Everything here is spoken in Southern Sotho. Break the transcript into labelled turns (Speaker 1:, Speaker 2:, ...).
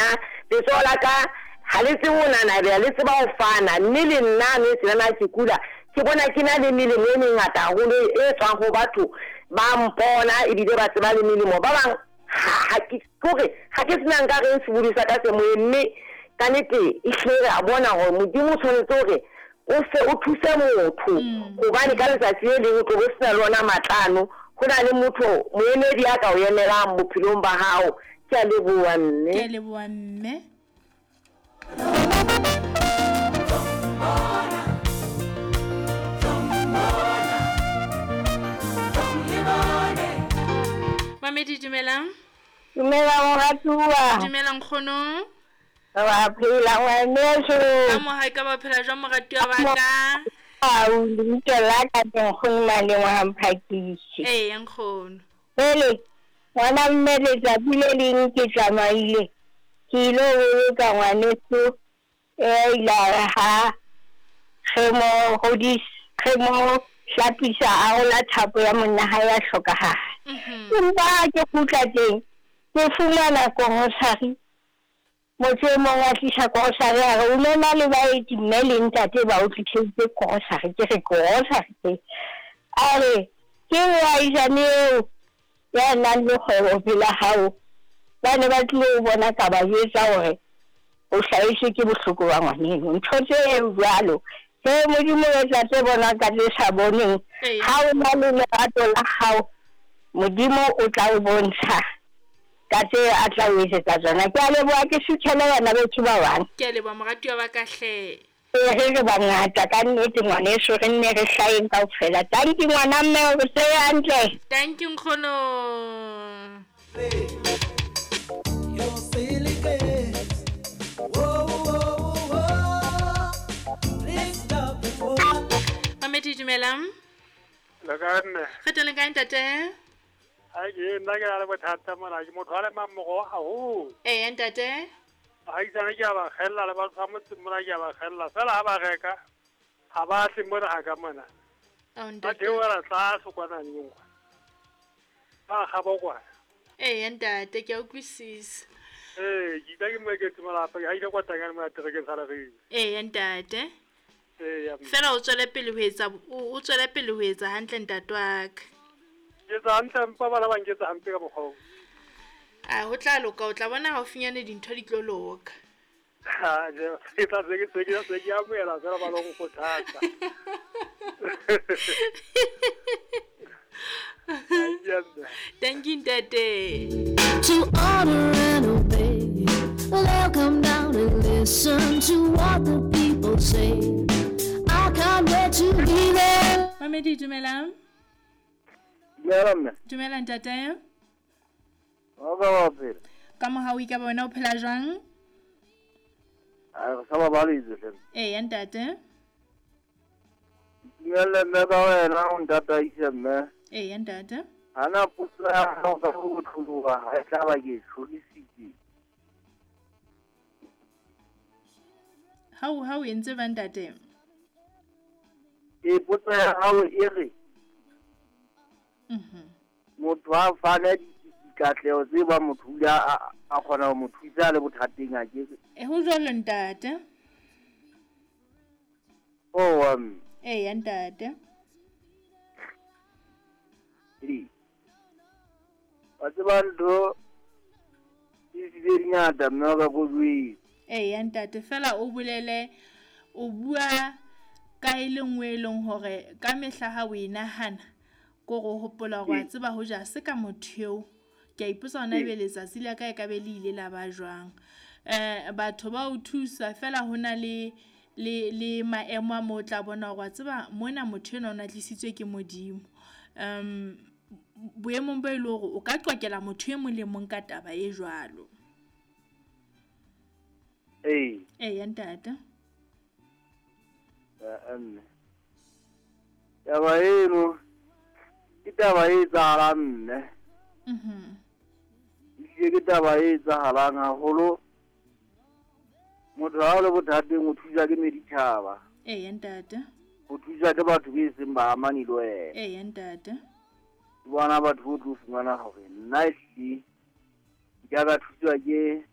Speaker 1: nna letsoho la ka ha le tsebe ho nanabela, le tseba ho fana. Mme le nna mme tsenana ke kula, ke bona ke na le melemo e mengata haholo e tswang ho batho ba mpona ebile ba tseba le melemo. Ba bang ha ke kore ha ke sena nka reng sebodi sa ka se moyeng, mme ka nnete ehlile re a bona hore Modimo o tshwanetse hore o fe o thuse motho, hobane ka letsatsi le leng o tlo bo sena le ona matlano. Ho na le motho moemedi a ka o emelang bophelong ba hao. Ke a leboha mme.
Speaker 2: Ke a leboha mme. Mamedi dumelang.
Speaker 3: Dumela moratuwa.
Speaker 2: Dumela nkgono.
Speaker 3: Wa phela ngwaneso.
Speaker 2: Ka mo hae ka ba phela jwang moratuwa wa ka?
Speaker 3: Au, lebitso la ka ke nkgono Maleng wa Mphakisi.
Speaker 2: Ee nkgono.
Speaker 3: Pele ngwana mme letsatsi le leng ke tsamaile ke ilo boloka ngwaneso e ile a re ha re mo hodisa re mo hlapisa a rola thapo ya monna hae ya hlokahala. Empa ha ke kgutla teng ke fumana korosari. Motho e mong a tlisa korosari a re o no na le baeti mme le ntate ba o tliseditse korosari. Ke re korosari ke a re ke moahisane eo ya nang le kgwebo pela hao. Ba ne ba tlilo o bona ka ba jwetsa hore o hlahetswe ke bohloko ba ngwaneno. Ntho tse jwalo he Modimo o etsa tse bonwang ka tse sa boneng. Ha o na le lerato la hao, Modimo o tla o bontsha ka tse a tla o etsetsa tsona. Ke a leboha, ke suthele bana beso ba bang.
Speaker 2: Ke a leboha moratuwa wa ka hle.
Speaker 3: Ee, re re bangata ka nnete ngwaneso, re nne re hlaheng kaofela. Tanki ngwana mme, o re hantle.
Speaker 2: Tanki nkgono. Mamedi dumelang.
Speaker 4: Le kae mme?
Speaker 2: Re teng le kae ntate?
Speaker 4: Hai ke nna ke na le bothata mona, ke motho a lemang moroho haholo.
Speaker 2: Ee ntate.
Speaker 4: Baahisane ke a ba kgella le batho ba motseng mona ke a ba kgella, feela ha ba reka ha ba tle mona ha ka mona. Ba theohela tlase kwana neng kwana. Ba kgaba kwana.
Speaker 2: Ee ntate, ke a utlwisisa.
Speaker 4: Ee, ke itla ke moeketsi malapa, ke haile kwa tanyane mona terekeng sa Leribe.
Speaker 2: Ee ntate.
Speaker 4: Ee,
Speaker 2: Feela o tswele pele ho etsa o tswele pele ho etsa hantle ntate wa ka.
Speaker 4: Ke etsa hantle empa bana ba nketsa hampe ka mokgwa oo.
Speaker 2: A ho tla loka, o tla bona haufinyane dintho di tlo loka.
Speaker 4: Ha, ke tla se ke se ke se ke amohela feela ba lo nkgothatsa.
Speaker 2: Thank you ntate.
Speaker 5: To honor and obey. They'll come down and listen to what the people say. I can't wait to be there.
Speaker 2: Mamedi dumelang.
Speaker 6: Dumela mme.
Speaker 2: Dumela ntate.
Speaker 6: Wa ka wa phela.
Speaker 2: Ka mohau ka bona o phela jwang?
Speaker 6: A re sa babaletse hle.
Speaker 2: Ee ntate.
Speaker 6: Dumela mme ka wena o ntataise mme.
Speaker 2: Ee ntate.
Speaker 6: Hana potso ya hao ka ho tloloha ha e tla ba ke tlholisitse.
Speaker 2: Ha o entse ba ntate?
Speaker 6: E potso ya hao e re motho a fane dikatleho tse ba motho o ile a kgona ho mo thusa le bothateng a ke.
Speaker 2: E ho jwalo ntate.
Speaker 6: Oh
Speaker 2: Ee ntate.
Speaker 6: Wa tseba ntho di tse dingata mme wa ka ko jwetse.
Speaker 2: Ee ntate, fela o bolele o bua ka e le nngwe e leng hore ka mehla ha o e nahana ko go hopola hore wa tseba ho ja se ka motho eo. Ke a ipotsa hona ebe letsatsi la ka e ka be le ile la ba jwang. Batho ba o thusa fela ho na le le maemo a mo o tla bona hore wa tseba mona motho enwa o na tlisitswe ke Modimo. Boemong bo e le hore o ka qokela motho e mong le mong ka taba e jwalo.
Speaker 6: Ee.
Speaker 2: Ee ntate.
Speaker 6: Mme. Taba eno ke taba e etsahalang mme. Ehlile ke taba e etsahalang haholo. Motho ha o le bothateng o thuswa ke meditjhaba.
Speaker 2: Ee ntate.
Speaker 6: O thuswa ke batho be seng ba amane le wena.
Speaker 2: Ee ntate.
Speaker 6: Ke bona batho bo tlo fumana hore nna ehlile ke ka thuswa ke